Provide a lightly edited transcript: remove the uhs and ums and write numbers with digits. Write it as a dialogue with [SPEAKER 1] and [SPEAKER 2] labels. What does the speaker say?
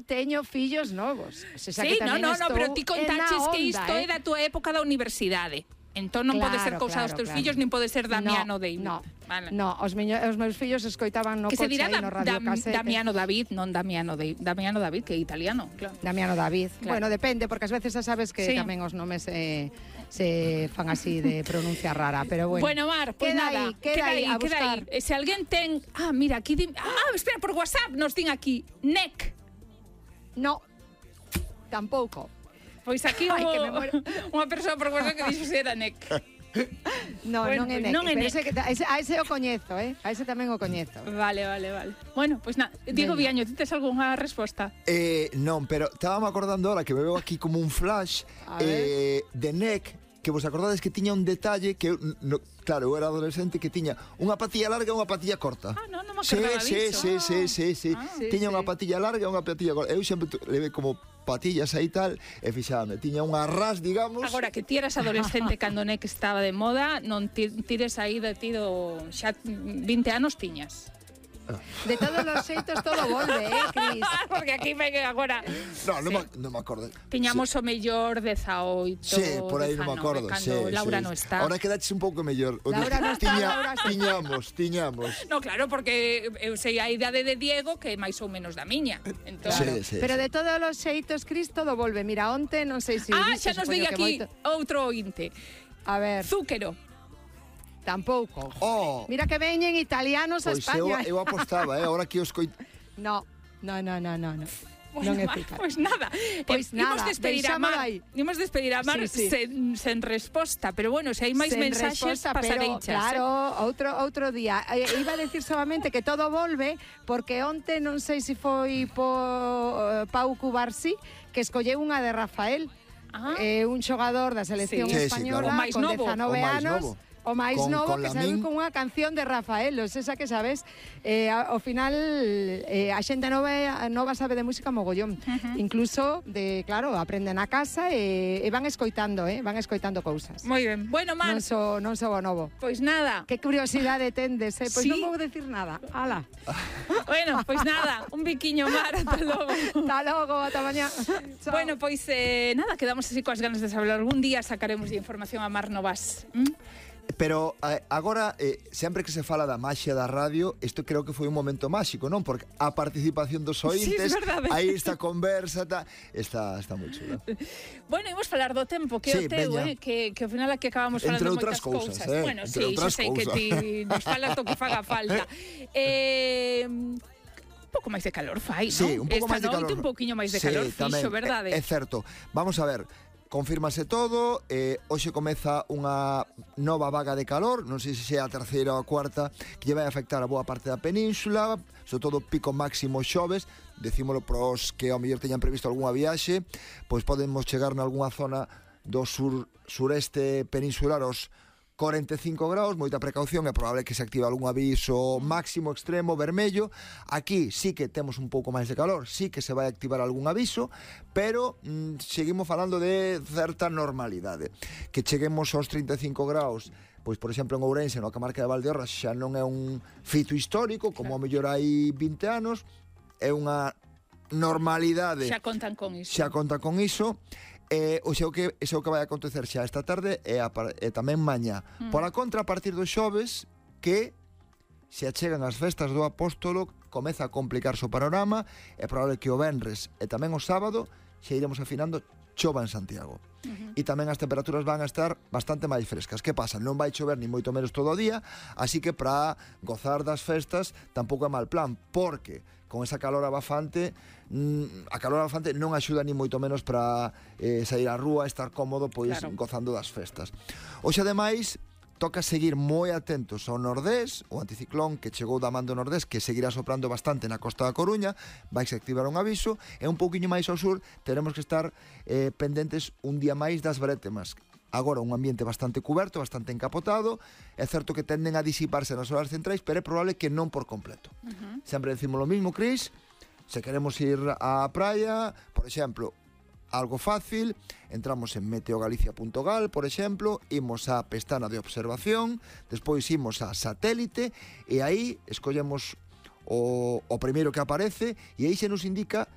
[SPEAKER 1] teño fillos novos.
[SPEAKER 2] Sí, pero ti contaches que isto é da tua época da universidade. Entón non pode ser cousa dos teus fillos, nin pode ser Damiano David.
[SPEAKER 1] No, os meus fillos escoitaban no coche e no radiocasete.
[SPEAKER 2] Damiano David, non Damiano David. Damiano David, que é italiano, claro.
[SPEAKER 1] Damiano David. Claro. Bueno, depende, porque ás veces xa sabes que tamén os nomes se fan así de pronuncia rara, pero bueno.
[SPEAKER 2] Bueno, Mar, pues nada, queda aí. Se alguén ten... mira, aquí... espera, por WhatsApp nos din aquí. NEC.
[SPEAKER 1] No, tampouco.
[SPEAKER 2] Pois aquí unha persoa por WhatsApp que dixo se era NEC.
[SPEAKER 1] Non é NEC. A ese o coñezo, A ese tamén o coñezo.
[SPEAKER 2] Vale. Bueno, pois nada. Diego Viaño, ti tes algunha resposta?
[SPEAKER 3] Non, pero estábame acordando ahora que me veo aquí como un flash de NEC, que vos acordades que tiña un detalle que claro, eu era adolescente, que tiña unha patilla larga e unha patilla corta.
[SPEAKER 2] Non me acordaba disso.
[SPEAKER 3] Sí. Tiña unha patilla larga e unha patilla corta. Eu sempre levei como patillas aí tal, e fixábame, tiña unha ras, digamos.
[SPEAKER 2] Agora, que ti eras adolescente cando NEC estaba de moda, non tires aí de ti xa 20 anos tiñas.
[SPEAKER 1] De todos os xeitos todo volve, Cris?
[SPEAKER 2] Porque aquí ven agora.
[SPEAKER 3] Non me acordo.
[SPEAKER 2] Tiñamos o mellor 18.
[SPEAKER 3] Sí, por aí non me acordo.
[SPEAKER 2] Cando Laura non está.
[SPEAKER 3] Ahora quedaches un pouco mellor.
[SPEAKER 1] Laura non está,
[SPEAKER 3] Tiñamos.
[SPEAKER 2] No, claro, porque eu sei a idade de Diego, que é máis ou menos da miña. Entón,
[SPEAKER 3] sí.
[SPEAKER 1] Pero de todos os xeitos, Cris, todo volve. Mira, onte, non sei se...
[SPEAKER 2] xa nos diga aquí outro ointe.
[SPEAKER 1] A ver.
[SPEAKER 2] Zúquero.
[SPEAKER 1] Tampouco. Mira que veñen italianos a España.
[SPEAKER 3] Eu apostaba, ahora que os
[SPEAKER 1] No.
[SPEAKER 2] Non é eficaz. Pois nada. Imos despedir a Mar sen resposta, pero bueno, se hai máis mensaxes pasareichas.
[SPEAKER 1] Claro, outro día. Iba a decir solamente que todo volve, porque onte non sei se foi Pau Cubarsí que escolleu unha de Rafael, un xogador da selección española con 19 anos. O máis novo, que sabe con unha canción de Rafael, esa que sabes, ao final a xente nova sabe de música mogollón. Incluso, claro, aprenden a casa e van escoitando cousas.
[SPEAKER 2] Moi ben. Bueno, Mar.
[SPEAKER 1] Non so o novo.
[SPEAKER 2] Pois nada.
[SPEAKER 1] Que curiosidade tendes, Pois non vou decir nada. Ala.
[SPEAKER 2] Bueno, pois nada. Un biquiño, Mar. Ata logo.
[SPEAKER 1] Ata logo, ata mañá.
[SPEAKER 2] Bueno, pois nada, quedamos así coas ganas de saber. Algún día sacaremos de información a Mar Novas.
[SPEAKER 3] Pero agora, sempre que se fala da maxia da radio, isto creo que foi un momento máxico, non? Porque a participación dos ointes, aí esta conversa, está moi chula.
[SPEAKER 2] Bueno, imos falar do tempo, que é o teu, que ao final aquí acabamos falando moitas cousas. Bueno, sí, xa sei que ti nos falas do que faga falta. Un pouco máis de calor fai, non?
[SPEAKER 3] Sí, un pouco máis de calor.
[SPEAKER 2] Un pouquiño máis de calor fixo, verdade?
[SPEAKER 3] É certo. Vamos a ver. Confírmase todo, hoxe comeza unha nova vaga de calor, non sei se é a terceira ou a cuarta, que lle vai afectar a boa parte da península, sobre todo pico máximo xoves, decímolo pros que ao mellor teñan previsto algunha viaxe, pois podemos chegar nalgúna zona do sureste peninsular aos 45 graus, moita precaución, é probable que se active algún aviso máximo extremo vermello. Aquí sí que temos un pouco máis de calor, sí que se vai activar algún aviso, pero seguimos falando de certa normalidade. Que cheguemos aos 35 graus, pois por exemplo en Ourense, na comarca de Valdeorras, xa non é un fito histórico, como ao mellor hai 20 anos, é unha normalidade.
[SPEAKER 2] Xa contan con iso.
[SPEAKER 3] O que vai acontecer xa esta tarde e tamén mañá. Por a contra, a partir dos xoves, que se achegan as festas do Apóstolo, comeza a complicarse o panorama, é probable que o venres e tamén o sábado xa iremos afinando chova en Santiago. E tamén as temperaturas van a estar bastante máis frescas. Que pasa? Non vai chover ni moito menos todo o día, así que para gozar das festas tampouco é mal plan, porque con esa calor abafante, a calor abafante non axuda ni moito menos para sair á rúa, estar cómodo, pois gozando das festas. Hoxe, ademais, toca seguir moi atentos ao nordés, o anticiclón que chegou da man do nordés, que seguirá soprando bastante na costa da Coruña, vai se activar un aviso, e un pouquiño máis ao sur teremos que estar pendentes un día máis das brétemas. Agora un ambiente bastante cuberto, bastante encapotado, é certo que tenden a disiparse nas horas centrais, pero é probable que non por completo. Sempre decimos lo mismo, Cris, se queremos ir á praia, por exemplo, algo fácil, entramos en meteogalicia.gal, por exemplo, imos á pestana de observación, despois imos a satélite, e aí escollemos o primeiro que aparece, e aí se nos indica